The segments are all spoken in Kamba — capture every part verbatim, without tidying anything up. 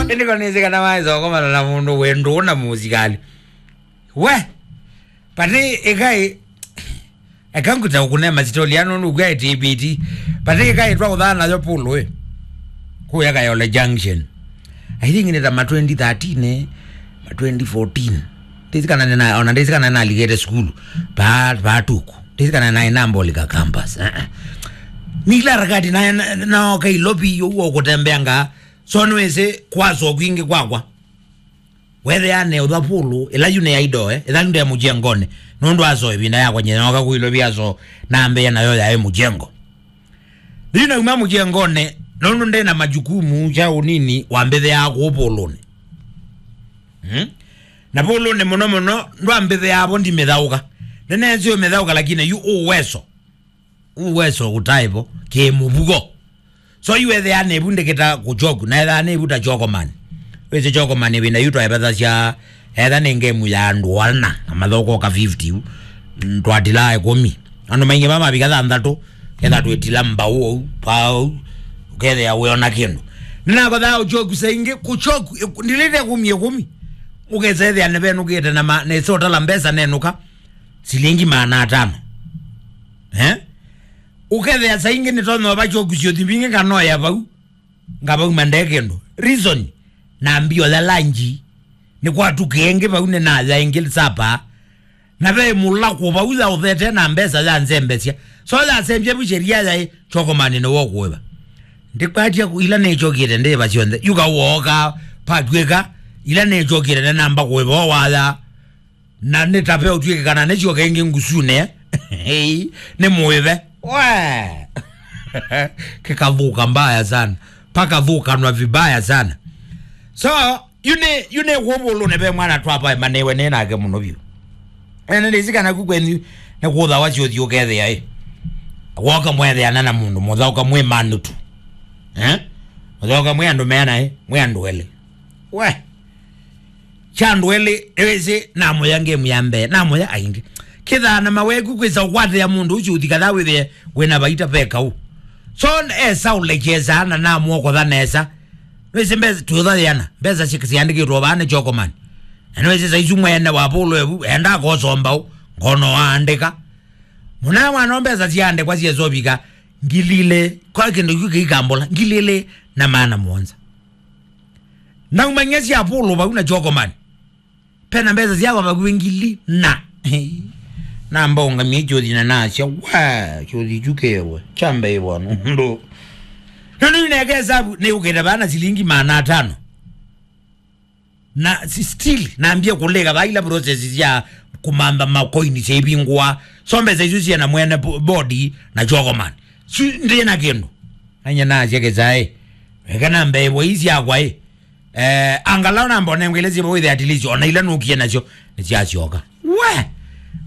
Ĩndĩ ko nĩsĩ kana waĩsa ũkomana na mũndũ wĩ ndũũ na mũsikalĩ. We, pati ĩkai, eka ngũta ũkũne masitoli ano nũkw'a T B T. Pati ĩkai twa ũthaa nayo pulu ĩ. Kũya Kayole Junction. I think nĩ ta ma twenty thirteen, eh, ma twenty fourteen. Ndĩsĩ kana nĩna, ona ndĩsĩ kana nĩnalikĩte sukulu. Pa, pa tuku. Ndĩsĩ kana naĩ na Mbolika campus. Eh, eh. Nĩ ila harakati na, na, naoka Ilovi ũguo kũtembeanga. So nĩwĩsĩ kwaso kwingĩ kwakwa. Wethĩa ne ũtha pulu, ĩla yu nĩ ya idoe, ĩla yu nde mũjengonĩ. Nũndũ aso ĩvinda yakwa nyina oka kũilũvia so, nambĩĩa nayo yaĩ mũjengo. Yu nauma mũjengonĩ, nũndũ ndĩ na majukumu kya ũnini, wambĩthĩaa kũu pulunĩ. Hmm? Na pulunĩ mũno mũno, ndwambĩthĩaa vo ndimĩthaũka. Nĩneesĩ ũmĩthaũka, lakini yu ũweso. Uweso ũtaĩvo kĩmũvuko. So yu ethĩa nĩvu ndĩkĩta kũchoku, na ethĩa nĩvu ta chokoman. Wĩsĩ chokoman ĩvinda yu twaĩvethasya, etha nĩ ngemu ya andũ ana, na mathokoka fifty yu, mm, twatilaa ĩkũmi. Andũ maingĩ ma mavika thanthatũ, ketha twĩtila mbau ou, pau, ũkethĩa wĩona kĩndũ. Nĩnakothaa ũchoku saingĩ, kũchoku, ĩkũ-, ndilĩte kũmi ĩkũmi. Ũkesa ethĩa nĩvenũkĩte na ma-, nĩsotala mbesa nenũka, silingi maana atano. Eh? Ũkethĩa saa ingĩ nĩtonya ũva kyoku syũthi mbingĩ nganoya vau, ngavauma nde kĩndũ. Reason, nambia oya lanji, nĩkwatuka ĩngĩ vau nĩnaya ĩngĩ sapa, na ve mũlakũ vau yaũthete na mbesa yanzembesya. So yasembya vu sheria yaĩ, chokomani nĩwe ũkũĩva. Ndikwatya ku-, ila nĩkyokĩte ndĩva syonthe, yuka wooka, patw'ĩka, ila nĩkyokĩte nĩnamba kũĩva o waya. Na nĩ ta ve ũtw'ĩke kana nĩsyoka ĩngĩ ngusune. Hei, nĩ mũĩve. We! Kĩkathũka mbaya sana. Pakathukanwa vibaya sana. So, yu nĩ, yu nĩ kũvũlũne ve mwana twavae manĩwe nĩ nake mũno vyũ. Ene ndĩsĩ kana ku kwenyu nĩ kũthawa syũthi ũkethĩa ĩ. Woka mwetheana na mũndũ, mũthaũka mwĩ manutu. Eh? Mũthaũka mwĩ andũ meana ĩ, mwĩ andũ elĩ. We! Kya andũ elĩ, ĩwĩsĩ, namũya ngemu ya mbee, namũya aingĩ. Kĩthaa na maweku kwĩsa ũkwatĩa mũndũ ũcio ũthikathaa wĩthĩe wĩna vaita ve kaũ. So, esa ũlekyesa na namwokotha nesa. Nĩwĩsĩ mbesa, twĩũthathĩana. Mbesa si-, siandĩkĩtwe vaa nĩ chokoman. Na nĩwĩsĩ saisu mwene wa polo evu, enda akosomba ũ, ngono aandĩka. Mũna mwana mbesa siandĩkwa siesovika, ngili ilĩ, kwa kĩndũ kĩu kĩikambũla, ngili ilĩ na maana mũonza. Naumany'a sya polo vau na chokoman. Pena mbesa syakwa vakuvĩ ngili na. Namba ũngamie kyothi na nasya, wa, kyothi kyu kewe, kyambe ĩvwa nũndũ. Nũndũ nĩneke hesabu, nĩũkĩte vana silingi maana atano. Na si-, still, nambie kũlĩka va ila process sya kũmantha makoini syaivingũa. So mbesa isu syena mwene bo-, body na chokoman. Su ndĩ na kĩndũ. Nanye nasya kĩsaĩ. Eka nambe ĩvwa ii syakwa ĩ. Eh, angalau namba onengwa ila syĩvo wĩthe at least, ona ila nũkie nasyo, nĩsyasyoka. We!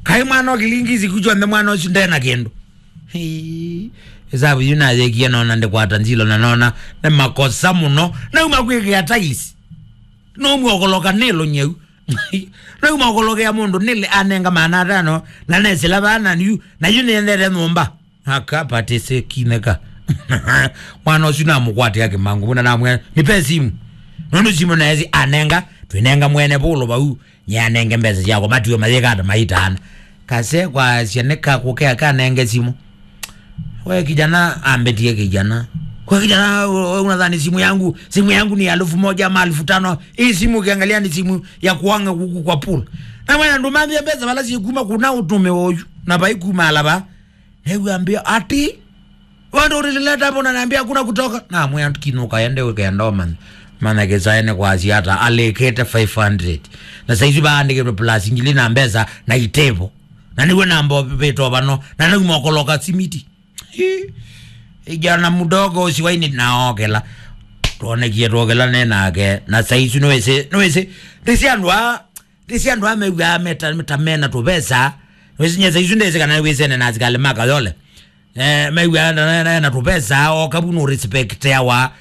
Kaĩ mwana ũkilingi siku syonthe mwana ũsu ndena kĩndũ. Hii. Hesabu yu nayekie nona ndikwata nzilo na nona nĩ makosa mũno. Nauma kwĩkĩa tiles. Nomwokoloka nĩlo nyau. Nauma okolokea mũndũ nĩle anenga maana atano na nesĩla vana yu, na yu nĩendete nyũmba. Aka patĩsĩ kineka. Mwana ũsu namũkwatĩa kĩmangu mũna namwĩa, "Nipe simu." Nũndũ simu naesi anenga, twĩnenga mwene vũlũ vau, nyeanenge mbesa syakwa, matiwe mayĩka ata maitaana. Kase kwasya nĩkakũkea kanenge simu. We kijana, ambetie kijana. "Kwa kijana, we, we unadhani simu yangu, simu yangu ni elfu moja ama elfu tano? Hii simu ukiangalia ni simu ya kuanga kuku kwa pool." Na mwana ndumambia mbesa wala sikuma kuna utume oyu. Na bai kuma alaba. Nĩw'ambĩa ati, "Wewe ndio ulileta hapo, unaniambia hakuna kutoka?" Na mwĩa, "Kinuka, ende ũkenda ũmanya." Mana kĩsaĩ nĩ kwasya ata, alĩkĩte five hundred. Na saizi vaandĩkĩtwe plus ngili na mbesa na itevo. Na nĩwe namba vĩto vano, na nauma ũkoloka simiti. Hi. Ijana mdogo usiwaini naokela. Tuonekie tuokela ne nake. Na saizi nĩwĩsĩ, nĩwĩsĩ. Ndĩsĩ andũ a, ndĩsĩ andũ a mew'aa meta, meta mena tũvesa. Nĩwĩsĩ nyesa isu ndĩsĩ kana wĩsene na asikali ma Kayole. Eh, mew'aa na, na, na, na tũvesa, o kavu no respect yawa.